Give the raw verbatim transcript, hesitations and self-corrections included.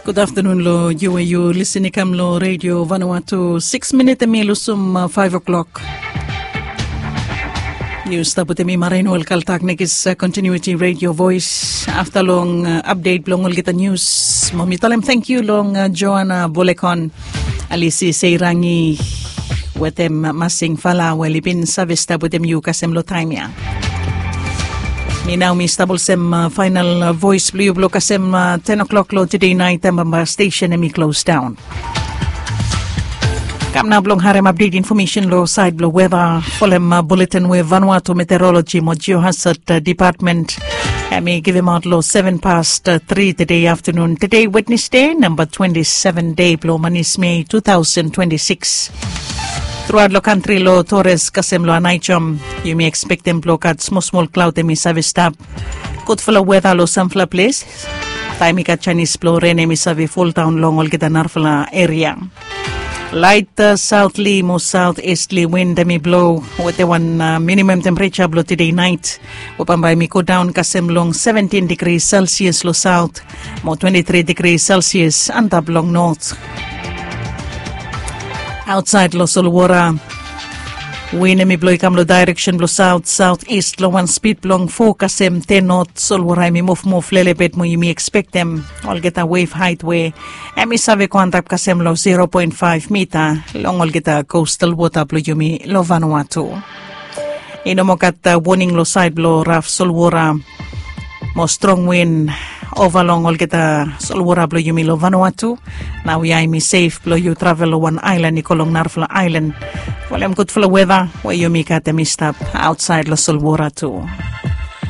Gud aftanun long yu we yu lisin i kam long redio Vanuatu. Siks minit em i lusum faiv o'klok. Yu stap wetem mi, Marenuel Kaltak, nekis kontinuiti redio vois. Afta long apdet blong olgeta nius, mo mi talem tangkiu long Joana Bolekon, Alisi Seirangi wetem Masing Fala we oli bin save stap wetem yu kasem long taem ya. Mi nao mi stap olsem faenal vois blong yu blong kasem ten o'klok long tede nait taem bambae stesen em i klos daon. Kam nao blong harem apdet infomesen long saed blong weta folem buletin we Vanuatu Meteoroloji mo Jiohasad Depatmen em i givimaot long seven past tri tede aftanun, tede Wednesde, namba twenti seven dei blong manis Mei tu taosen twenti sikis. Truaot long kantri long Tores kasem long Anaijom, yumi ekspektem blong gat smosmol klaod em i save stap. Gudfala weta long samfala ples. Taem i gat janis blong ren em i save foldaon long olgeta narafala eria. Laet saotli mo saotestli win em i blo wetem wan minimum tempereja blong tede nait we bambae em i godaon kasem long seventin digri Selsias long saot mo twenti tri digri Selsias antap long not. Aotsaed long solwora, win em i blo i kam long daereksen blong saot saotest long wan spid blong fo kasem ten not. Solwora em i muvmuv lelebet mo yumi ekspektem olgeta wev haet we em i save go antap kasem long zero poen faef mita long olgeta kostal wota blong yumi long Vanuatu. I no moa gat woning long saed blong raf solwora mo strong win ova long olgeta solwora blong yumi long Vanuatu. Nao ya em i sef blong yu travel long wan aelan i go long narafala aelan. Folem gudfala weta we yumi gat em i stap aotsaed long solwora tu.